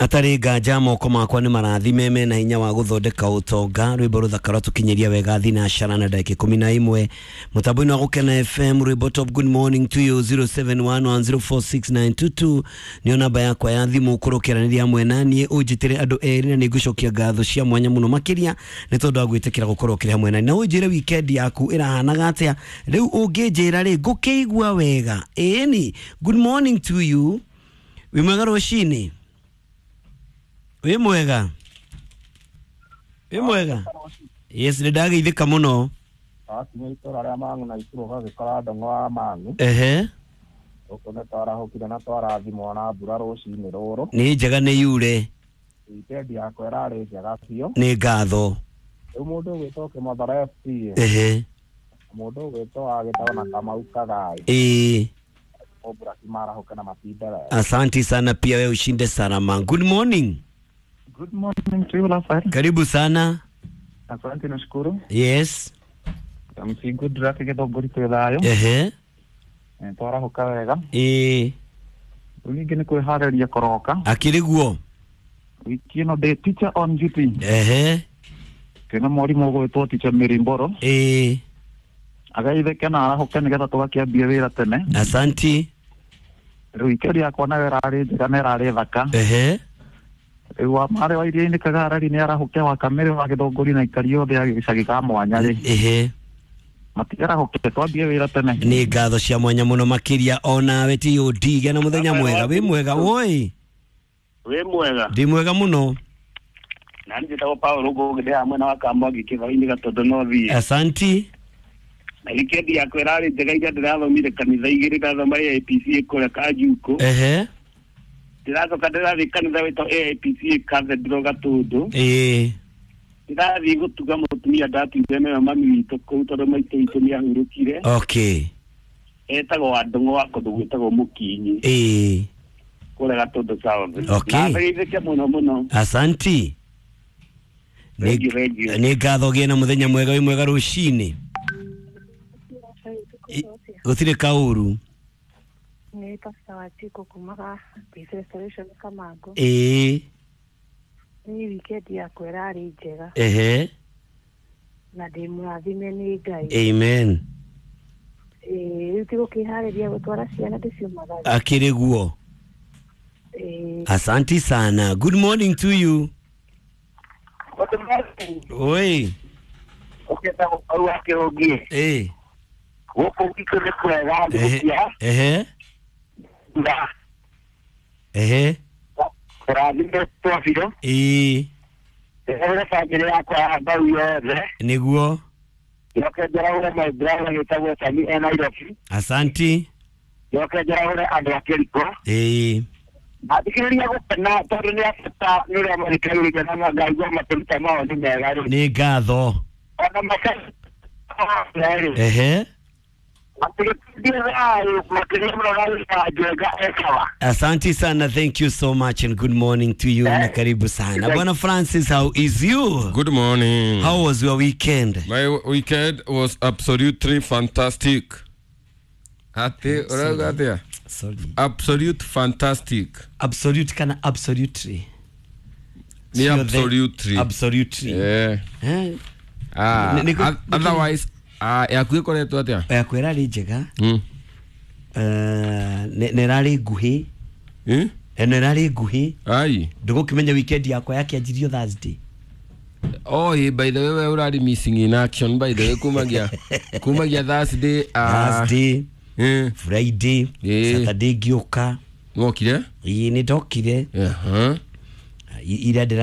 Atarĩ nganja moko makwa nĩ marathime mena hinya wa gũthondeka ũtonga. Rwĩmbo rũthaka rwatũkinyĩria wega thinacara na ndagĩka 11 mũtambo-inĩ wa Gũkena FM. Rwĩmbo top. Good morning to you. 0711046922 nĩyo namba yakwa ya thimũ. Ũkorwo ũkĩaranĩria hamwe na niĩ, ũnjĩtĩre andũ erĩ na nĩngũcokia ngatho cia mwanya mũno makĩria nĩ tondũ wa gwĩtĩkĩra gũkorwo ũkĩrĩ hamwe na niĩ. Na ũnjĩre weekend yaku ĩrahanaga atĩa. Rĩu ũngĩnjĩra rĩ, ngũkĩigua wega. Ĩni, good morning to you. Wĩ mwega rũcinĩ? Wĩ mwega, wĩ mwega. Yes, nĩ ndageithĩka mũno. Twakinya itũra rĩa Mang'u na Ikuru ũgagĩkora ndong'o wa Mang'u. Gũkũ nĩ twarahũkire na twarathimwo na mbura rũcinĩ rũrũ. Nĩ njega, nĩ yure. Weekend yakwa ĩrarĩ njega biũ. Nĩ ngatho. Rĩu mũndũ ũgwĩtwo Kĩmothoro FC, mũndũ ũgwĩtwo wagĩtagwo na Kamau Kagai, Mũmburaki, marahũke na matinde wega. Asanti sana pia, we ushinde salama. Good morning. Good morning to you, Rafael. Karibu sana. Asante, nashukuru. Yes. MC Goodluck Gĩthũngũri, twĩ thayũ. Twarahũka wega. Rĩu ningĩ nĩ kwĩharĩria kũroka. Akĩrĩ guo. Wiki ĩno ndĩ teacher on duty. Twĩna mwarimũ ũgwĩtwo teacher Mary Mboro. Agaithĩke na arahũke nĩgetha tũgakĩambia wĩra tene. Asanti. Rĩu weekend yakwa nayo ĩrarĩ njega na ĩrarĩ thaka. Rĩu wa marĩ wa iria-inĩ Kagarari nĩ arahũke, wa Kamĩrĩ wa Gĩthũngũri na ikari othe a gĩcagi ka mwanya rĩ. Matiarahũke twambie wĩra tene. Nĩ ngatho cia mwanya mũno makĩria onawe tod. Gĩa na mũthenya mwega. Wĩ mwega woi? Wĩ mwega? Ndĩ mwega mũno. Na njĩtagwo Paul Ngũgĩ, ndĩ haha mwena wa Kamwangi kĩbao-inĩ Gatũndũ no thiĩ. Asanti. Na weekend yakwa ĩrarĩ njega. Ira ndĩrathomire kanitha igĩrĩ, ndathoma AIPC kũrĩa Kanjukũ. Ndĩracoka ndĩrathiĩ kanitha wĩtwo AIPC Cathedral Gatũndũ. Ndĩrathiĩ gũtuga mũtumia ndatuire nĩwe mami witũ kũu, tondũ maitũ witũ nĩ ahurũkire. Etagwo Wandũng'ũ wa kũndũ gwĩtagwo Mũkinyi, kũrĩa Gatũndũ South. Na ngeithĩke mũno mũno. Asanti. Thank you, thank you. Nĩ ngatho, gĩe na mũthenya mwega. Wĩ mwega rũcinĩ? Gũtirĩ kaũru. Nĩ Pastor Wachiko kumaga Peace Restoration Kamango. Nĩ weekend yakwa ĩrarĩ njega na ndĩ mũrathime nĩ Ngai. Amen. Rĩu ti gũkĩharĩria gũtwara ciana ndĩciumagarie. Akĩrĩ guo. Asanti sana. Good morning to you. Good morning. Oi. Ũkĩenda gũkorwo wa kĩrũngi. Gũkũ gwitũ nĩ kwega thigũkia na kũrathimĩtwo biũ. Ndĩrere bamĩrĩ yakwa ya mbau yothe. Nĩguo. Njoke njaraũre my brother gĩtagwo Sami e Nairobi. Asanti. Njoke njaraũre andũ a Kĩriko. Athikĩrĩria gũkena tondũ nĩ abata nĩ ũrĩa marĩkagĩrĩria na ngaigua makĩruta mawoni mega rĩ. Nĩ ngatho. Ona makarĩ matigĩtindie thayũ makĩria mũno na wĩra njega ekawa. Asante sana, thank you so much and good morning to you na karibu sana. Bwana Francis, how is you? Good morning. How was your weekend? My weekend was absolutely fantastic. Ate, urauga atia? Sorry. Absolute fantastic. Absolute kana absolutely? Ni Sio absolutely. Absolutely. Yeah. Eh? Ah, otherwise, yaku ĩkoretwo atĩa? Yakwa ĩrarĩ njega. Nĩ ĩrarĩ nguhĩ. Eh? Nĩ ĩrarĩ nguhĩ. Ai. Ndũgũkĩmenya weekend yakwa yakĩanjirio Thursday. Oh, by the way, we urari missing in action by the way kumagia Thursday. Thursday, Friday, Saturday ngĩũka. Wokire? Ĩĩ, nĩ ndokire. Ira ndĩra